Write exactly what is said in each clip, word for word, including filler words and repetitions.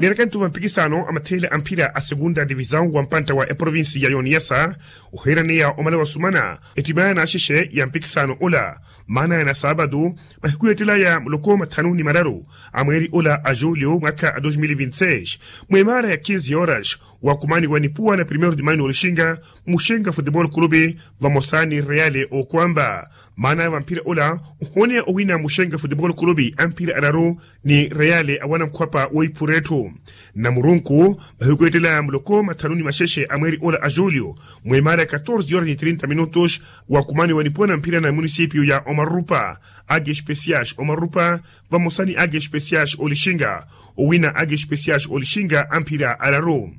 Erekantu va mpikisano a matheela a mphira a segunda divisawu wa mpantta wa eprovinsi ya yoniyasa, oheeraneya omala wasumana ettimaya n'axexe ya mpikisano ola. Maana ya nasaabatu mahiku yeettelaya muloko mathanu ni mararu a mweeri ola a julio mwakha a dos mil vinti seis, mweemaara ya kinzi horas, wakumaniwa nipuwa na primeiro de maio n'olixinga muxenga futebol clube vamosa ni reale okwamba. Maana ya vamphira ola, ohooneya owina muxenga futebol clube a mphira araru ni reale awana nkhwapa woiphura etthu. Namurunku, mahiku yeettelaya muloko mathanu ni maxexe a mweeri ola a julio, mweemaara ya katorze horas ni trinta minutos, wakumaniwa nipuwa na mphira na munisipio ya omarupa, age especiais omarupa vamosa ni age especiais olixinga, owina age especiais olixinga a mphira araru.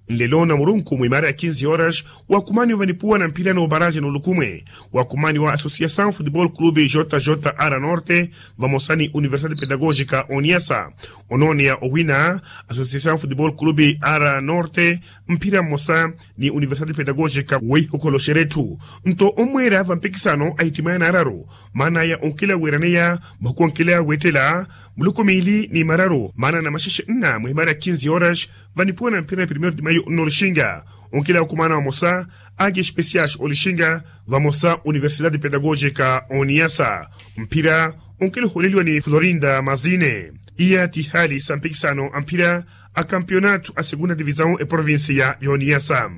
Nlelo namurunku mwimaara ya kinzi horas, wakumaniwa vanipuwa na mphira n'obaraje n'olukumwe, wakumaniwa associação futebol clube jjr norte vamosa ni universidade pedagógica oniyasa. Onooneya owina associação futebol clube r norte mphira mmosa ni universidade pedagógica weihokholoxerya etthu. Nto ommweera va mpikisano a ittimaya naararu, maanaya onkila weeraneya mahuku onkila weettela muloko miili ni mararu maana na maxexe nna mwimaara ya kinzi horas, vanipuwa na mphira na primeiro de maio n'olixinga, onkila wakumana vamosa, age especiais olixinga vamosa universidade pedagógica oniyasa. Mphira onkila ohooleliwa ni florinda mazine. Iya ti haali sa mpikisano a mphira a kampionato a segunda divisawu eprovinsi ya yoniyasa.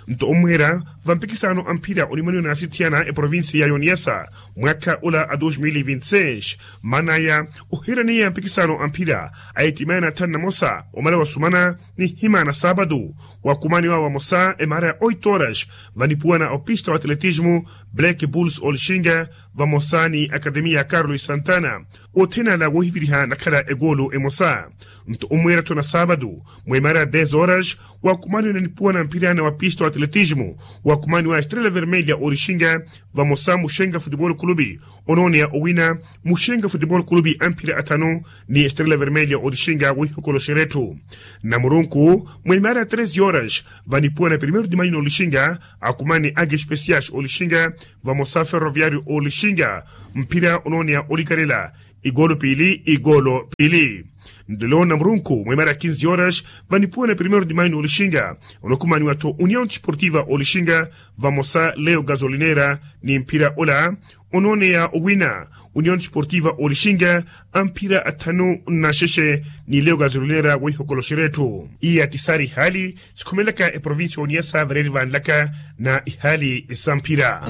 Nto ommweera va mpikisano a mphira onimwaniwa n'asithiyana eprovinsi ya yoniyasa mwakha ola a dos mil vinti seis, maanaya oheeraneya mpikisano a mphira a ittimaya na thanu na mosa omala wasumana nihima na saabatu, wakumaniwa vamosa emaara ya oito horas, vanipuwa na opista wa atletismo black bulls olixinga vamosa ni akademia ya carlos santana, othene ala woohiviriha nakhala ekoolo emosa. Nto ommweera-tho na saabatu, mweemaara ya dez horas, wakumaniwa nipuwa na mphira na wapista wa atletismo, wakumaniwa estrela vermelha olixinga vamosa muxenga futebol clube, onooneya owina muxenga futebol clube a mphira athanu ni estrela vermelha olixinga woihokoloxerya etthu. Namurunku, mweemaara ya treze horas, vanipuwa na primeiro de maio n'olixinga, akumani age especiais olixinga vamosa ferroviario olixinga, mphira onooneya olikarela ikoolo piili ikoolo piili. Nlelo namurunku mweemaara ya kinzi horas, vanipuwa na primeiro de maio n'olixinga, onokumaniwa-tho união desportiva olixinga vamosa leo gasolinera. Ni mphira ola onooneya owina união desportiva olixinga a mphira athanu na xexe ni leo gasolinera woihokoloxerya etthu. Iya ti saari haali sikhumelaka eprovinsi ya oniyasa vareeri vanlaka na ihaali sa mphira.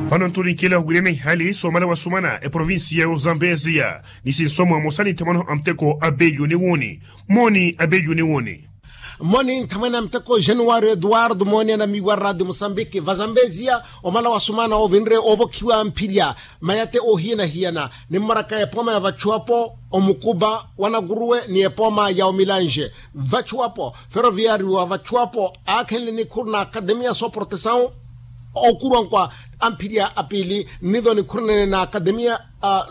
Vano ntulinkela owirana ihaali soomala wasumana eprovinsi ya ozambeziya ni sinsomo amosa ni nthamwano a muteko a beyu ni wooni. Mooni a beyu ni wooni. Mooni nthamwene a muteko januwario eduwardo mooni anamiiwa radio musambiki vazambeziya, omala wasumana ovinre ovokhiwa mphirya mayate ohiyanahiyana, nimmaraka epooma ya vachuwapo omukuba wanakuruwe ni epooma ya omilanje. Vachuwapo feroviario wa vachuwapo aakhenle nikhuru na akademia soprotesawu okuruwankwa a mphirya a piili, nitho nikhurunene na akademia a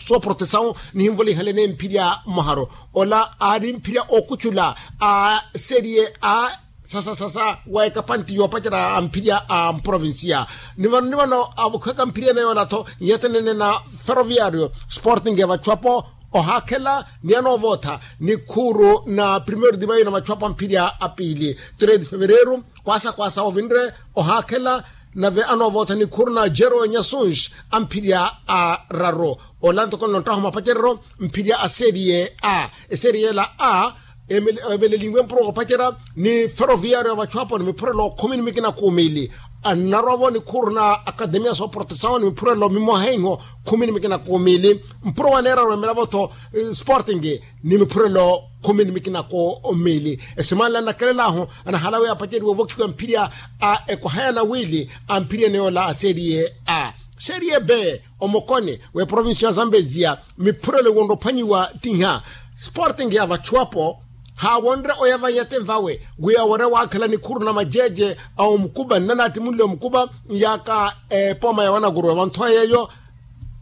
soprotesawu nihinvolihanlene mphirya mwaharu. Ola aari mphirya okuchula a serie a sasa sasa wa ekapanti yoopacerya a mphirya a mprovincia. Ni vano ni vano avokhiwaka mphirya ene yoola-tho nyatenene na feroviario sporting ya vachuwapo ohaakhela ni anoovootha nikhuru na primeiro de maio na vachuwapo a mphirya a piili. Três de fevereiro kwaasa kwaasa ovinre ohaakhela nave anoovootha nikhuru na jero nyasunge a mphirya araru. Ola ntoko nlonttahu mapacereryo mphirya a serie a. Eserie ela a emeleliwe mpuro woopacerya ni feroviario ya vachuwapo ni miphurelo khumi ni mikina kumi ili. Annarovo nikhuru na akademia soprotesawu ni miphurelo mimoha iho khumi ni mikina kumi ili. Mpuro waneeraru emelavo-tho sporting ni miphurelo khumi ni mikina kumi ili. Esimanle annakelel'ahu anahalawe apaceriwe ovokhiwa mphirya a ekohaya na wiili a mphirya ene yoola a serie a. Serie b omokoni w'eprovincia ya zambezia miphurelo iwonre ophwanyiwa ti nha. Sporting ya vachuwapo haawonre oya vanyate nvawe wi aworya waakhela nikhuru na majeje a omukuba nnanattimunle omukuba nyaaka epooma ya wanakuruwe vanthowa yeeyo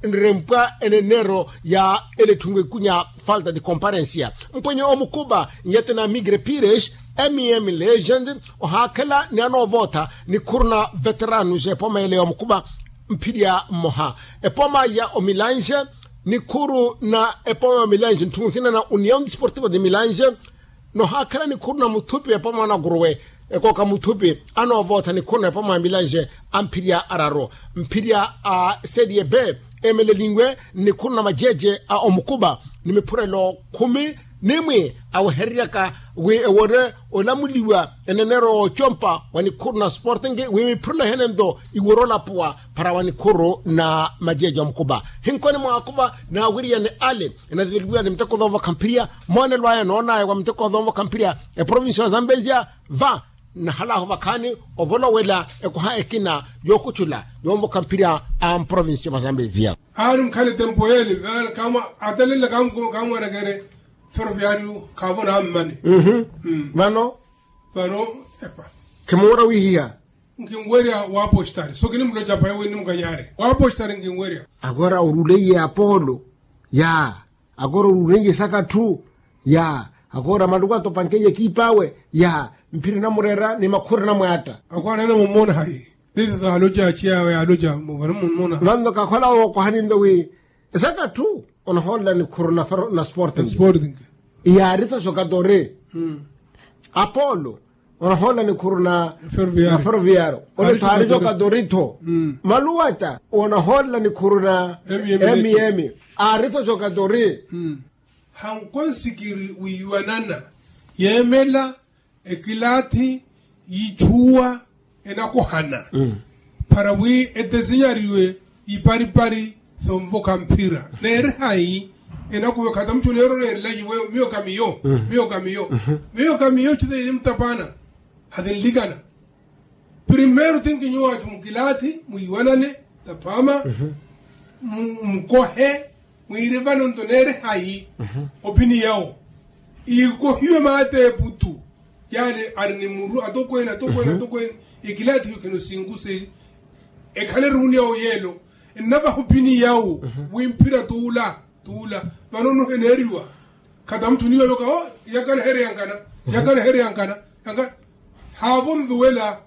nrempwa eneneero ya ele tthungu ekunya falta de comparencia. Mpwenye omukuba nyate na migre pires M M legend ohaakhela ni anoovootha nikhuru na veterano ja epoma ele ya omukupa mphirya mmoha. Epoma ya omilanje nikhuru na epoma ya omilanje ntthu nsina na union desportiva de milanje. Nohaakhela nikhuru na muthupi epoma na kuruwe ekooka muthupi anoovootha nikhuru na epoma ya milanje amphirya araru mphirya a serie b eemeleliwe nnikhuru na majeje a omukupa ni miphurelo khumi nimwi awehereryaka wi ewore olamuliwa eneneero woocompa wa nikhuru na sporting wi miphurelo ehene nto iworo olapuwa para wa nikhuru na majeje omukupa hinkoni mwaakupa naawiriyane ale enatuveliwiwa ni miteko thoovokha mphirya moonelo aya noonaya wa miteko thoovokha mphirya eprovincia wa zambezia va nnahalaahu vakhaani ovolowela ekoha ekina yookuchula yoonvokha mphirya a mprovincia mwa zambezia. Aari nkhale tempo yeele vale kamwa atalelela kamwerekere feroviario khaavona ammani. Vano vano epa khimuura wihiha nkinwerya waapostari so kinimuloca paye wi nimukanyare waapostari nkinwerya. Agora oruleiye apolo ya agora oruleiye saka ttu ya agora maluku atopankeiye ekiip'awe ya mphira enamureera ni makhura enamwaatta. Agora enamummona hayi tite taaloca aciyawe yaaloca muvano mummona vanno kakhola wookohani nto wi esaka ttu onahoolela nikhuru na sporting. Sporting yaari tho jogadori apolo onahoolela nikhuru na ferroviario ole thaari jogadori tho maluwata onahoolela nikhuru na mm aari tho jogadori. Hankonsikiri wiiwanana yeemela ekilaathi yiichuwa enakohana para wi etesenyariwe iparipari thonvokha mphira neeri hayi enakuva khata mutthu neerorerela yiwe miyo ka miyo miyo ka miyo miyo ka miyo tite yinimutapana hatinlikana. Primeiro tinkinyuwatthu mukilaathi mwiiwanane taphama mukohe mwiire vano nto neere hayi opiniyawo iikohiwe maata eputu yaani ari ni muru atokweene atokweene atokweene ekilaathi yo khino sinkusi ekhale ruuni yawo yeelo ennavaha opiniyawo wi mphira tuula tuula vano nuheneeriwa khata mutthu niyo yoka o yakaleherya nkana yakaleherya nkana yankana haavo nluwela